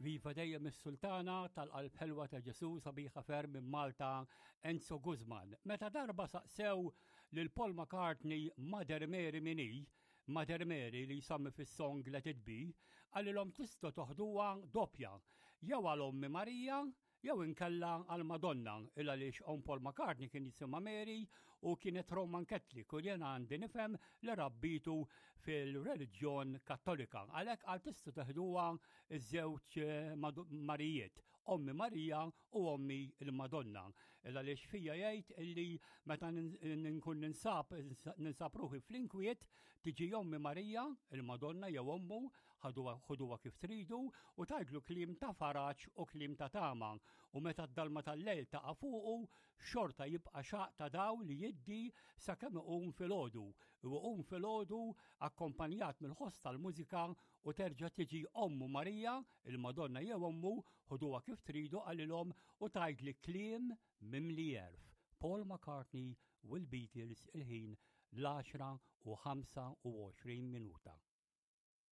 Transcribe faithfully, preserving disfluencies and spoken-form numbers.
Viva dejjem is-Sultana tal-Qalb Ħelwa ta' Ġesu, sabiħa ferm minn Malta, Enzo Guzman. Meta darba saqsew lil Paul McCartney Mother Mary min hi, Mother Mary li jsemmi fis-song Let It Be, qalilhom tistgħu toħduha doppja, jew għal ommi Marija, jew inkella għal Madonna, il għaliex omm Paul McCartney kien jisimha Mary u kienet Roman Catholic u jena għandi nifhem li rabbitu fil-reliġjon Kattolika. Għalhekk għal tistgħu teħduha iż-żewġ eh, Marijiet, ommi Marija u ommi il-Madonna. Il għaliex fija jgħid illi meta nkun ninsab ninsab ruħi fl-inkwiet tiġi ommi Marija, il-Madonna jew ommu, ħuduha kif tridu u tgħidlu kliem ta' faraġ u kliem ta' tama u meta d-dalma tal-lejl taqa' fuqu xorta jibqa' xaq ta' daw li jiddi sakemm iqum filgħodu. U iqum filgħodu akkompanjat mill-ħoss tal-mużika u terġa' tiġi ommu Marija, il-Madonna jew ommu, ħuduha kif tridu qalilhom u tgħidli kliem mimli għerf. Paul McCartney u l-Beatles il-ħin l-għaxra u ħamsa u għoxrin minuta.